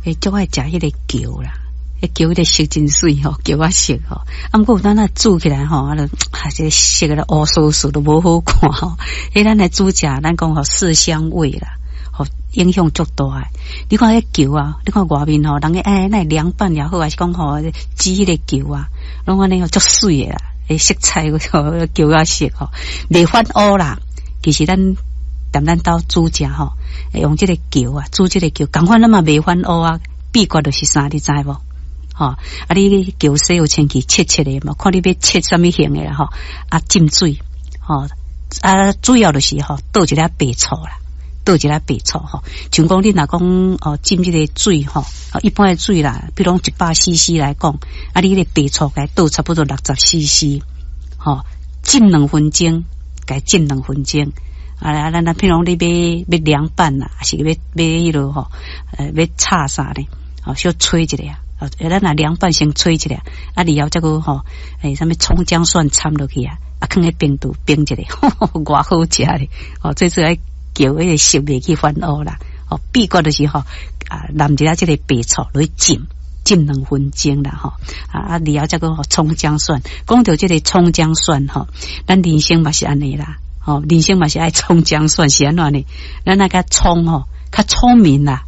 會足愛食彼個蕎啦，彼蕎彼個色真媠吼，蕎仔色吼。啊，毋過有當仔煮起來吼，啊，就啊，這個色咧烏趖趖都無好看吼。彼咱來煮食，咱講吼色香味啦，吼影響足大的。你看彼蕎啊，你看外面吼，人家欸，那涼拌也好，還是講吼煮彼個蕎啊，攏按呢吼足媠的啦，彼色彩吼蕎仔色吼，袂反烏啦。其實咱踮咱兜煮食吼，用這個蕎啊，煮這個蕎，仝款咱嘛袂反烏啊。秘訣就是啥，你知無？吼，啊，你蕎洗予清氣，切切的嘛，看你欲切啥物形的啦吼。啊，浸水，吼，啊，主要就是吼，倒一粒白醋啦，倒一粒白醋吼。像講你若講哦，浸這個水吼，一般的水啦，比如講100 CC 來講，啊，你彼個白醋共倒差不多60 CC，吼，浸兩分鐘，共浸兩分鐘。啊，咱咱譬如講你欲涼拌啦，還是欲欲彼落吼，欲炒啥咧？哦，小炊一下，哦，咱若涼拌先炊一下，啊，然後再閣吼，欸，啥物蔥薑蒜摻落去啊，啊，囥佇冰櫥冰一下，偌好食咧！哦，最主要蕎彼個色袂去反烏啦。哦，秘訣就是吼，啊，淋一下這個白醋落去浸，浸兩分鐘啦，吼，啊啊，然後再閣蔥薑蒜。講著這個蔥薑蒜吼，咱人生嘛是按呢啦，吼，人生嘛是愛蔥薑蒜是按怎呢？咱那個蔥吼，較聰明啦。